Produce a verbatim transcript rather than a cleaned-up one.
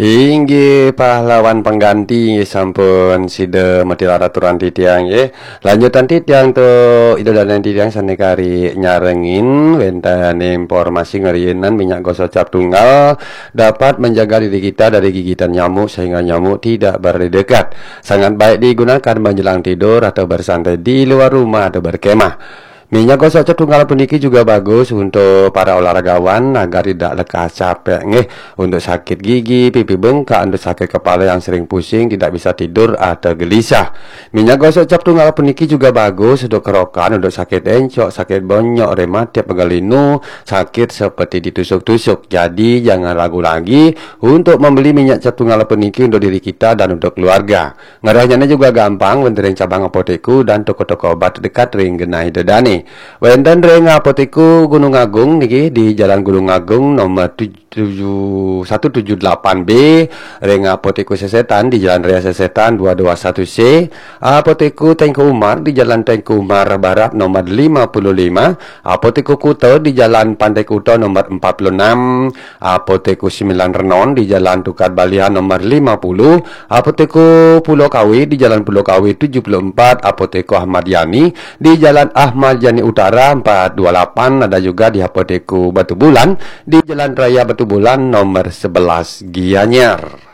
Inggih pahlawan pengganti, sampun sida matilar aturan titiang, nggih. Lanjutan titiang tu, ida dané titiang sané kari nyarengin wénten informasi ngerinan minyak gosok cap tunggal dapat menjaga diri kita dari gigitan nyamuk sehingga nyamuk tidak berdekat. Sangat baik digunakan menjelang tidur atau bersantai di luar rumah atau berkemah. Minyak gosok cap tunggal puniki juga bagus untuk para olahragawan agar tidak lekas capek, nggih, untuk sakit gigi, pipi bengkak, untuk sakit kepala yang sering pusing, tidak bisa tidur atau gelisah. Minyak gosok cap tunggal puniki juga bagus untuk kerokan, untuk sakit encok, sakit bonyok, rematik, pegal linu, sakit seperti ditusuk-tusuk. Jadi jangan ragu lagi untuk membeli minyak cap tunggal puniki untuk diri kita dan untuk keluarga. Ngarahnya juga gampang, wénten ring cabang apotekku dan toko-toko obat dekat ring genah ida dané. Wénten ring apotekku Gunung Agung niki di Jalan Gunung Agung nomor tujuh, satu tujuh delapan B, ring apotekku Sesetan di Jalan Raya Sesetan dua dua satu C, apotekku Tengku Umar di Jalan Tengku Umar Barat nomor lima puluh lima, apotekku Kuta di Jalan Pantai Kuta nomor empat puluh enam, apotekku Sembilan Renon di Jalan Tukad Balian nomor lima puluh, apotekku Pulau Kawe di Jalan Pulau Kawe tujuh puluh empat, apotekku Ahmad Yani di Jalan Ahmad Yani Utara empat dua lapan, ada juga di apotekku Batu Bulan di Jalan Raya Batu Bulan nomor sebelas Gianyar.